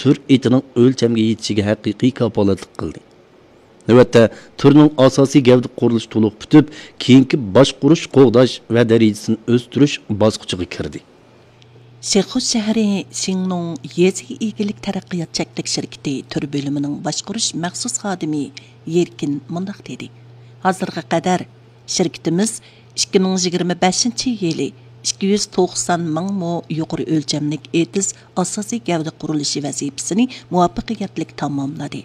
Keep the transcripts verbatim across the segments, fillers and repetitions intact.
تۈر ئېتىنىڭ ئۆلچەمگە يېتىشىگە ھەقىقىي كاپالەتلىك قىلدى. نۆۋەتتە، تۈرنىڭ ئاساسىي گەۋدە قۇرۇلۇشى تولۇق پۈتۈپ، كېيىنكى باشقۇرۇش، قوغداش ۋە دەرىجىسىنى ئۆستۈرۈش باسقۇچىغا كىردى. شىخۇ شەھىرى شىڭنۇڭ يېزا ئىگىلىك تەرەققىيات چەكلىك شىركىتى تۈر بۆلۈمىنىڭ باشقۇرۇش مەخسۇس خادىمى يېركىن مۇنداق دېدى: ھازىرغا قەدەر شىركىتىمىز ئىككى مىڭ يىگىرمە بەشىنچى يىلى ئىككى يۈز توقسان مىڭ مو يۇقىرى ئۆلچەملىك ئېتىز ئاساسىي گەۋدە قۇرۇلۇشى ۋەزىپىسىنى مۇۋەپپەقىيەتلىك تاماملىدى.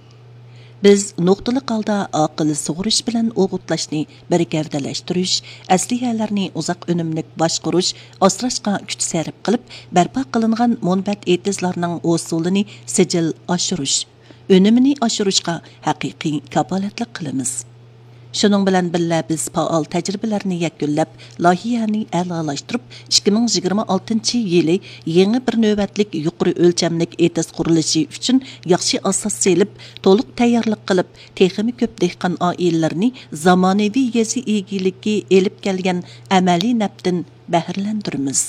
بىز نۇقتىلىق ھالدا ئاقىل سۇغىرىش بىلەن ئوغۇتلاشنى بىر گەۋدىلەشتۈرۈش، ئەسلىھەلەرنى ئۇزاق ئۈنۈملۈك باشقۇرۇش، ئاسراشقا كۈچ سەرپ قىلىپ، بەرپا قىلىنغان مۇنبەت ئېتىزلارنىڭ ھوسۇلىنى سىجىل ئاشۇرۇش، ئۈنۈمىنى ئاشۇرۇشقا ھەقىقىي كاپالەتلىك قىلىمىز. شۇنىڭ بىلەن بىللە، بىز پائال تەجرىبىلەرنى يەكۈنلەپ، لايىھەنى ئەلالاشتۇرۇپ، ئىككى مىڭ يىگىرمە ئالتىنچى يىلى يېڭى بىر نۆۋەتلىك يۇقىرى ئۆلچەملىك ئېتىز قۇرۇلۇشى ئۈچۈن ياخشى ئاساس سېلىپ، تولۇق تەييارلىق قىلىپ، تېخىمۇ كۆپ دېھقان ئائىلىلىرىنى زامانىۋى يېزا ئىگىلىكى ئېلىپ كەلگەن ئەمەلىي نەپتىن بەھرىلەندۈرىمىز.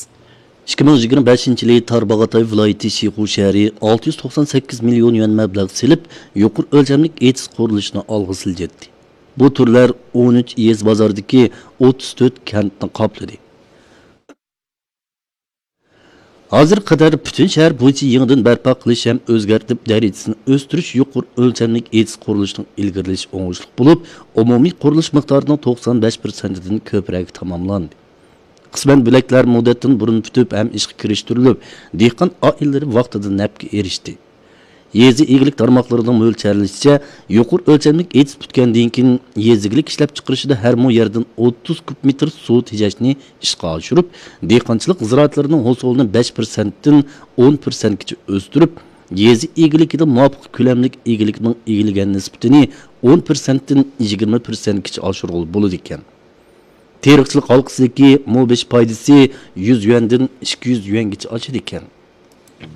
ئىككى مىڭ يىگىرمە بەشىنچى يىلى تارباغاتاي ۋىلايىتى شىخۇ شەھىرى ئالتە يۈز توقسان سەككىز مىليون يۈەن مەبلەغ سېلىپ، يۇقىرى ئۆلچەملىك ئېتىز قۇرۇلۇشىنى ئالغا سىلجىتتى. بۇ تۈرلەر ئون ئۈچ يېزا بازاردىكى ئوتتۇز تۆت كەنتنى قاپلىدى. ھازىرغا قەدەر پۈتۈن شەھەر بويىچە يېڭىدىن بەرپا قىلىش ھەم ئۆزگەرتىپ دەرىجىسىنى ئۆستۈرۈش يۇقىرى ئۆلچەملىك ئېتىز قۇرۇلۇشىنىڭ ئىلگىرىلىشى ئوڭۇشلۇق بولۇپ، ئومۇمىي قۇرۇلۇش مىقدارىنىڭ توقسان بەش پىرسەنتىدىن كۆپرەك تاماملاندى. قىسمەن بۆلەكلەر مۇددەتتىن بۇرۇن پۈتۈپ ھەم ئىشقا كىرىشتۈرۈلۈپ، دېھقان ئائىلىلىرى ۋاقتىدا نەپكە ئېرىشتى. يېزا ئىگىلىك تارماقلىرىنىڭ مۆلچەرلىشىچە، يۇقىرى ئۆلچەملىك ئېتىز پۈتكەندىن كېيىن، يېزا ئىگىلىك ئىشلەپچىقىرىشىدا ھەر مو يەردىن ئوتتۇز كۇب مېتىر سۇ تېجەشنى ئىشقا ئاشۇرۇپ، دېھقانچىلىق زىرائەتلىرىنىڭ ھوسۇلىنى بەش پىرسەنتتىن ئون پىرسەنتكىچە ئۆستۈرۈپ، يېزا ئىگىلىكىدە مۇۋاپىق كۆلەملىك ئىگىلىكنىڭ ئىگىلىگەن نىسبىتىنى ئون پىرسەنتتىن يىگىرمە پىرسەنتكىچە ئاشۇرغىلى بولىدىكەن. تېرىقچىلىق ھالقىسىدىكى مو بېشى پايدىسى يۈز يۈەندىن ئىككى يۈز يۈەنگىچە ئاشىدىكەن.